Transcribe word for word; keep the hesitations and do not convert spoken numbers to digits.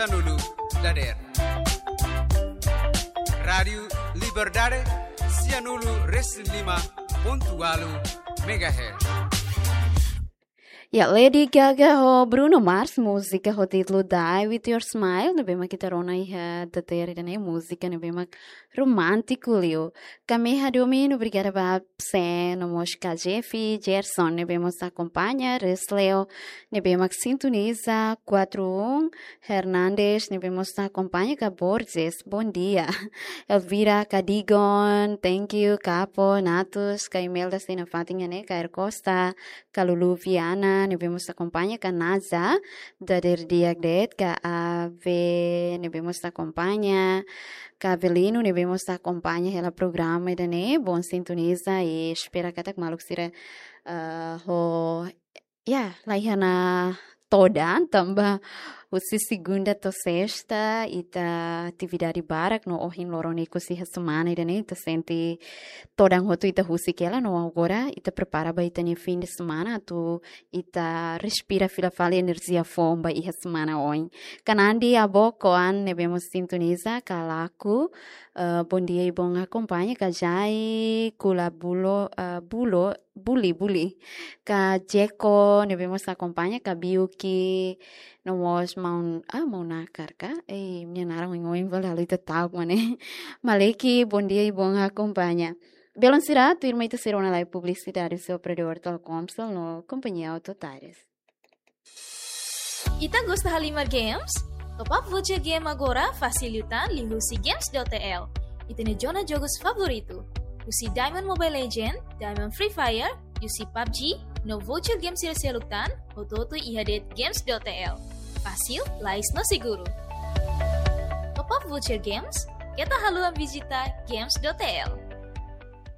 Sianulu dadeer. Rádiu Liberdade, sianulu resin lima pontu ualu megahertz. Ya, Lady Gaga ho Bruno Mars, múzika ho títulu Die With Your Smile, ne'ebé mak ita rona iha dadeer ida-ne'e, múzika ne'ebé mak romántiku liu. Kami hadomi, obrigada ba Sen, no mós ka Jeffy, Gerson, ne'ebé mós akompaña, Resleo, ne'ebé mak sintoniza, kuatru un, Hernandes, ne'ebé mós akompaña, ka Borges, bom dia. Elvira, ka Digon, thank you, Kapo, Natus, ka Imelda, sei nafatin iha ne'e, ka Er Costa, ka Lulu Viana, ne'ebé mós akompaña, ka Naza, dadeer di'ak de'it, ka Ave, ne'ebé mós akompaña, ka Avelino, ne'ebé mós akompaña hela programa ida-ne'e, bom sintoniza, i espera katak maluk sira, ah, ho, ya, la iha ona todan, tanba husi segunda to'o sesta, ita atividade barak no ohin loron ikus iha semana ida-ne'e, ita sente todan hotu ita husik hela, no agora ita prepara ba ita-nia fim de semana, atu ita respira fila fali enerjia foun ba iha semana oin. Ka Nandi, Abo, Koan, ne'ebé mós sintoniza, ka Laku, eh, bom dia i bom akompaña, ka Jai, Kula Bulo, eh, Bulo, Buli, Buli. Ka Jeko, ne'ebé mós akompaña, ka Biuki, no mós maun, ah, maun Nakar ka? Eh, nia naran oin-oin fali halo ita ta'uk mak ne'e. Maleki, bom dia i bom akompaña. Belun sira, tuirmai ita sei rona lai publisidade husi operadór Telkomsel no Kompañia Auto Tires. Ita gosta halimar games? Top up voucher game agora fasil liután liuhusi games dot T L. Ita-nia zona jogus favoritu. Husi Diamond Mobile Legend, Diamond Free Fire, U C PUBG, no voucher game sira seluk tan, hotu-hotu iha de'it games dot T L. Fasil, lais no seguru. Top up voucher games, keta haluha vizita games dot T L.